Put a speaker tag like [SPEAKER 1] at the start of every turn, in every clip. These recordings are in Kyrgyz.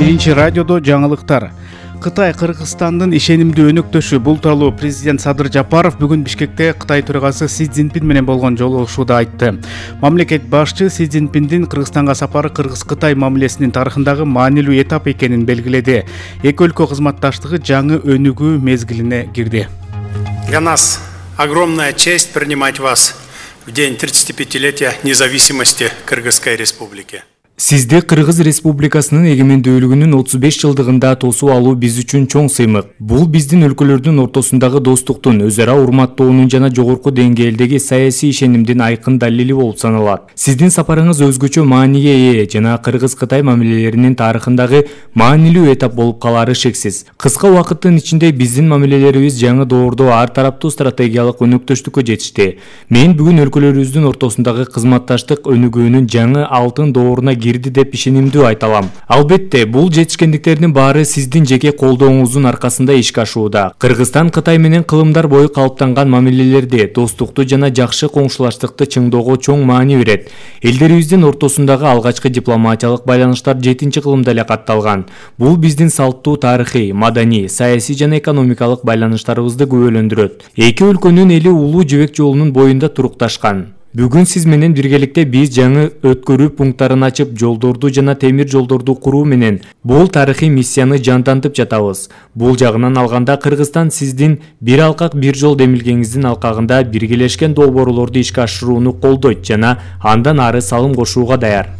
[SPEAKER 1] Биринчи радиодо жаңылыктар. Кытай Кыргызстандын ишенимдүү өнөктөшү. Бул тууралуу президент Садыр Жапаров бүгүн Бишкекте Кытай төрагасы Си Цзиньпин менен болгон жолугушууда айтты. Мамлекет башчы Си Цзиньпиндин Кыргызстанга сапары Кыргыз-Кытай мамилесинин тарыхындагы маанилүү этап экенин белгиледи. Эки өлкө кызматташтыгы жаңы өнүгүү мезгилине кирди.
[SPEAKER 2] Для нас огромная честь принимать вас в день 35-летия независимости Кыргызской Республики.
[SPEAKER 3] Сизди Кыргыз Республикасынын эгемендүүлүгүнүн 35 жылдыгында тосуп алуу биз үчүн чоң сыймык. Бул биздин өлкөлөрдүн ортосундагы достуктун, өз ара урматтоонун жана жогорку деңгээлдеги саясий ишенимдин айкын далили болуп саналат. Сиздин сапарыңыз өзгөчө мааниге ээ жана Кыргыз-Кытай мамилелеринин тарыхындагы маанилүү этап болуп калары шексиз. Кыска убакыттын ичинде биздин мамилелерибиз жаңы доордо ар тараптуу стратегиялык өнөктөштүккө жетишти. Мен бүгүн өлкөлөрүбүздүн ортосундагы кызматташтык өнүгүүнүн жаңы алтын дооруна кирди деп ишенимдүү айта алам. Албетте, бул жетишкендиктердин баары сиздин жеке колдооңуздун аркасында ишке ашууда. Кыргызстан Кытай менен кылымдар бою калыптанган мамилелерде достукту жана жакшы коңшулаштыкты чыңдоого чоң маани берет. Элдерибиздин ортосундагы алгачкы дипломатиялык байланыштар 7-кылымда эле катталган. Бул биздин салттуу тарыхый, маданий, саясий жана экономикалык байланыштарыбызды күбөлөндүрөт. Эки өлкөнүн эли улуу жибек жолунун боюнда турукташкан. Бүгүн сиз менен биргеликте биз жаңы өткөрүү пункттарын ачып, жолдорду жана темир жолдорду куруу менен бул тарыхый миссияны жандантып жатабыз. Бул жагынан алганда Кыргызстан сиздин бир алкак бир жол демилгеңиздин алкагында биргелешкен долбоорлорду ишке ашырууну колдойт жана андан ары салым кошууга даяр.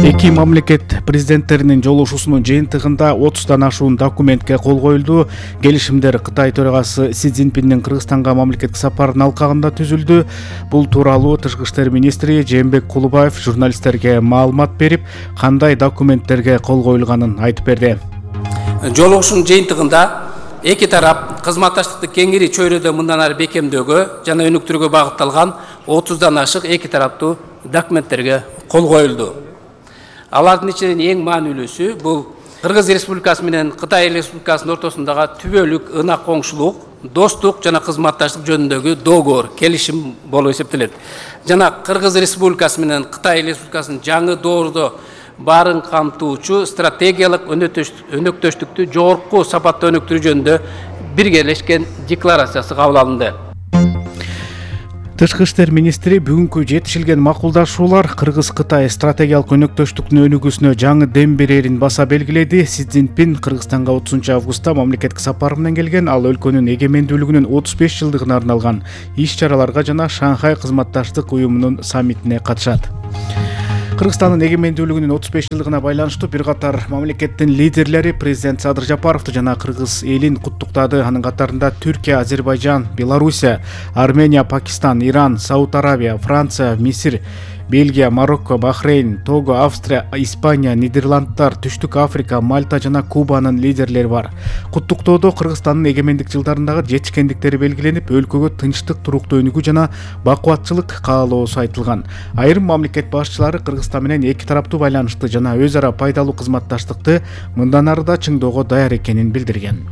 [SPEAKER 1] Эки мамлекет президенттеринин жолугушуусунун жыйынтыгында 30-дан ашуун документке кол коюлду. Келишимдер Кытай төрагасы Си Цзиньпиндин Кыргызстанга мамлекеттик сапарынын алкагында түзүлдү. Бул тууралуу Тышкы иштер министри Жээнбек Кулубаев журналисттерге маалымат берип, кандай документтерге кол коюлганын айтып берди.
[SPEAKER 4] Жолугушуунун жыйынтыгында эки тарап кызматташтыкты кеңири чөйрөдө мындан ары бекемдөөгө жана өнүктүрүүгө багытталган 30-дан ашык эки тараптуу документтерге кол коюлду. Алардын ичинен эң маанилүүсү бул Кыргыз Республикасы менен Кытай Республикасынын ортосундагы түбөлүк ынак коңшулук, достук жана кызматташтык жөнүндөгү доогор, келишим болуп эсептелет. Жана Кыргыз Республикасы менен Кытай Республикасынын жаңы доордо баарын камтуучу стратегиялык өнөктөштүктү жогорку сапатта өнүктүрүү жөнүндө биргелешкен декларациясы кабыл алынды.
[SPEAKER 1] Тышкы иштер министри бүгүнкү жетишилген макулдашуулар Кыргыз-Кытай стратегиялык өнөктөштүктүн өнүгүүсүнө жаңы дем берерин баса белгиледи. Си Цзиньпин Кыргызстанга 30-августта мамлекеттик сапар менен келген. Ал өлкөнүн эгемендүүлүгүнүн 35 жылдыгына арналган иш-чараларга жана Шанхай кызматташтык уюмунун саммитине катышат. Кыргызстандын эгемендүүлүгүнүн 35 жылдыгына байланыштуу бир катар мамлекеттин лидерлери президент Садыр Жапаровду жана кыргыз элин куттуктады. Анын катарында Түркия, Азербайжан, Белоруссия, Армения, Пакистан, Иран, Сауд Арабия, Франция, Мисир, Бельгия, Марокко, Бахрейн, Того, Австрия, Испания, Нидерландтар, Түштүк Африка, Мальта жана Кубанын лидерлери бар. Куттуктоодо Кыргызстандын эгемендик жылдарындагы жетишкендиктери белгиленип, өлкөгө тынчтык, туруктуу өнүгүү жана бакубатчылык каалоосу айтылган. Айрым мамлекет башчылары Кыргызстан менен эки тараптуу байланышты жана өз ара пайдалуу кызматташтыкты мындан ары да чыңдоого даяр экенин билдирген.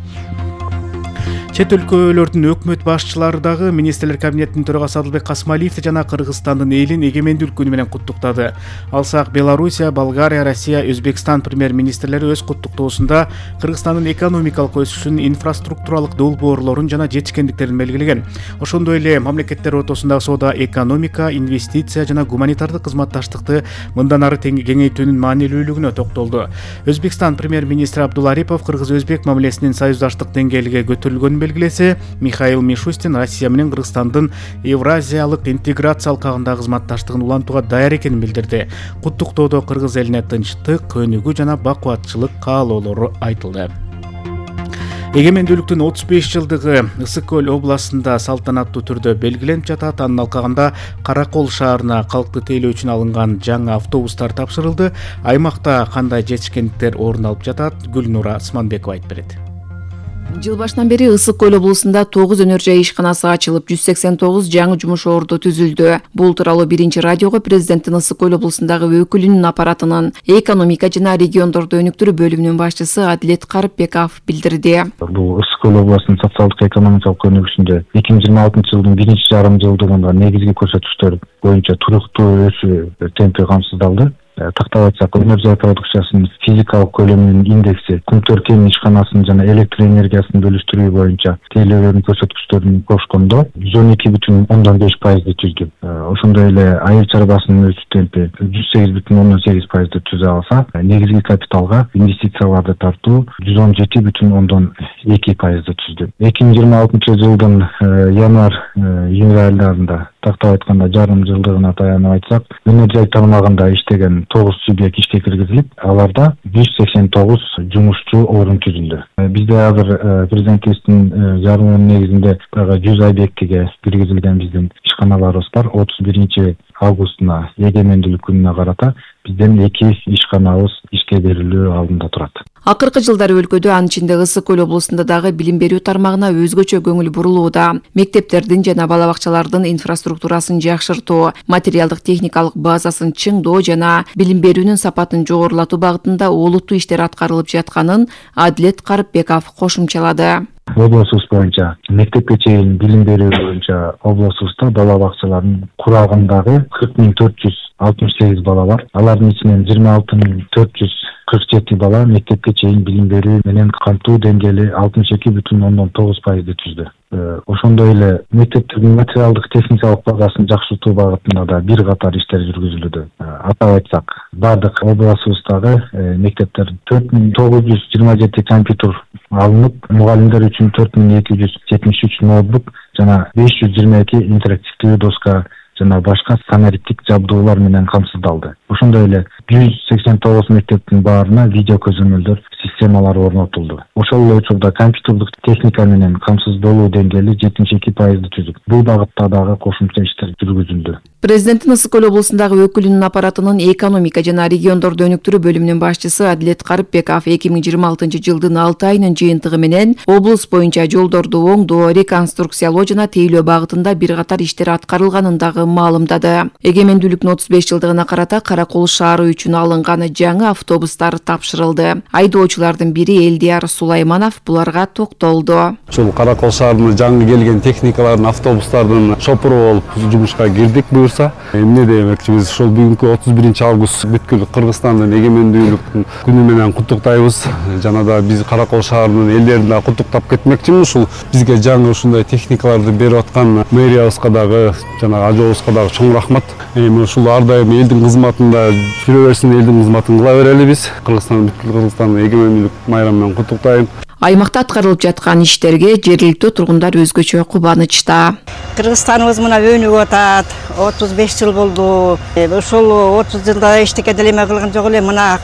[SPEAKER 1] Чет өлкөлөрдүн өкмөт башчылары дагы министрлер кабинетинин төрагасы Адылбек Касмалиевди жана Кыргызстандын элин эгемендүүлүк күнү менен куттуктады. Алсак Белоруссия, Болгария, Россия, Өзбекстан премьер-министрлери өз куттуктоосунда Кыргызстандын экономикалык өсүшүн, инфраструктуралык долбоорлорун жана жетишкендиктерин белгилеген. Ошондой эле мамлекеттер ортосундагы соода, экономика, инвестиция жана гуманитардык кызматташтыкты мындан ары кеңейтүүнүн маанилүүлүгүнө токтолду. Өзбекстан премьер-министри Абдулла Арипов кыргыз-өзбек мамилесинин союздаштык деңгээлге көтөрүлгөнүн белгилесе, Михаил Мишустин Россия менен Кыргызстандын Евразиялык интеграция алкагындагы кызматташтыгын улантууга даяр экенин билдирди. Куттуктоодо кыргыз элине тынчтык, өнүгүү жана бакубатчылык каалоолору айтылды. Эгемендүүлүктүн 35 жылдыгы Ысык Көл областында салтанаттуу түрдө белгиленип жатат. Анын алкагында Каракол шаарына калкты тейлөө үчүн алынган жаңы автобустар тапшырылды. Аймакта кандай жетишкендиктер орун алып жатат? Гүлнура Сманбекова айтып берет.
[SPEAKER 5] Жыл башынан бери Ысык Көл облусунда 9 өнөр жай ишканасы ачылып, 189 жаңы жумуш орду түзүлдү. Бул тууралуу биринчи радиого президенттин Ысык Көл облусундагы өкүлүнүн аппаратынын экономика жана региондорду өнүктүрүү бөлүмүнүн башчысы Адилет Карыпбеков билдирди.
[SPEAKER 6] Бул Ысык Көл облусунун социалдык экономикалык өнүгүшүндө 2026-жылдын биринчи жарым жылдыгында негизги көрсөткүчтөр боюнча туруктуу өсүү темпи камсыздалды. тактап айтсак, өнөр жай продукциясынын физикалык көлөмүнүн индекси Кумтөр кен ишканасынын жана электр энергиясын бөлүштүрүү боюнча тейлөөнүн көрсөткүчтөрүн кошкондо 112,5% түздү. Ошондой эле айыл чарбасынын өсүү темпи 108,8% түзө алса, негизги капиталга инвестицияларды тартуу 117,2% түздү. 2026 жылдын январь-июнь айларында тактап айтканда жарым жылдыгына таянып айтсак, өнөр жай тармагында иштеген 9 субъект ишке киргизилип, аларда 189 жумушчу орун түзүлдү. Бизде азыр президентибиздин жарымынын негизинде 100 объектиге киргизилген биздин ишканаларыбыз бар. 31 августуна эгемендүүлүк күнүнө карата бизден 2 ишканабыз ишке берилүү алдында турат.
[SPEAKER 5] Акыркы жылдары өлкөдө, анын ичинде Ысык көл облусунда дагы билим берүү тармагына өзгөчө көңүл бурулууда. Мектептердин жана бала бакчалардын инфраструктурасын жакшыртуу, материалдык техникалык базасын чыңдоо жана билим берүүнүн сапатын жогорулатуу багытында олуттуу иштер аткарылып жатканын Адилет Карыпбеков кошумчалады.
[SPEAKER 6] Облусубуз боюнча мектепке чейин билим берүү боюнча облусубузда бала бакчаларынын курагындагы 40,468 бала бар. Алардын ичинен 26,447 бала мектепке чейин билим берүү менен камтуу деңгээли 62,9% түздү. Ошондой эле мектептердин материалдык техникалык базасын жакшыртуу багытында да бир катар иштер жүргүзүлүүдө. Атап айтсак, бардык облусубуздагы мектептер 4927 компьютер алынып, мугалимдер үчүн 4273 ноутбук жана 522 интерактивдүү доска жана башка санариптик жабдуулар менен камсыздалды. Ошондой эле 189 мектептин баарына видео көзөмөлдөр системалары орнотулду. Ошол эле учурда компьютердик техника менен камсыздалуу деңгээли 72% түзүп, бул багытта дагы кошумча иштер жүргүзүлдү.
[SPEAKER 5] Президенттин Ысык көл облусундагы өкүлүнүн аппаратынын экономика жана региондорду өнүктүрүү бөлүмүнүн башчысы Адилет Карыпбеков 2026 жылдын 6 айынын жыйынтыгы менен облус боюнча жолдорду оңдоо, реконструкциялоо жана тейлөө багытында бир катар иштер аткарылганын дагы маалымдады. Эгемендүүлүктүн 35 жылдыгына карата Каракол шаары үчүн алынган жаңы автобустар тапшырылды. Айдоочулардын бири Элдияр Сулайманов буларга токтолду.
[SPEAKER 7] Ушул Каракол шаарына жаңы келген техникалардын, автобустардын шопуру болуп жумушка кирдик буюрса. Эмне демекчибиз, ушул бүгүнкү 31 август бүткүл Кыргызстандын эгемендүүлүк күнү менен куттуктайбыз. Жана да биз Каракол шаарынын элдерин да куттуктап кетмекчимиз. Ушул бизге жаңы ушундай техникаларды берип аткан мэриябызга дагы жана ажообузга дагы чоң рахмат. Ушул ар дайым элдин кызматында жүрө берсин, элдин кызматын кыла берели биз. Кыргызстан бүткүл Кыргызстандын эгемендүүлүк майрамы менен куттуктайм.
[SPEAKER 5] Аймакта аткарылып жаткан иштерге жергиликтүү тургундар өзгөчө кубанычта.
[SPEAKER 8] Кыргызстаныбыз мына өнүгүп атат. 35 жыл болду. Ошол 30 жылда эчтеке делеме кылган жок эле. Мына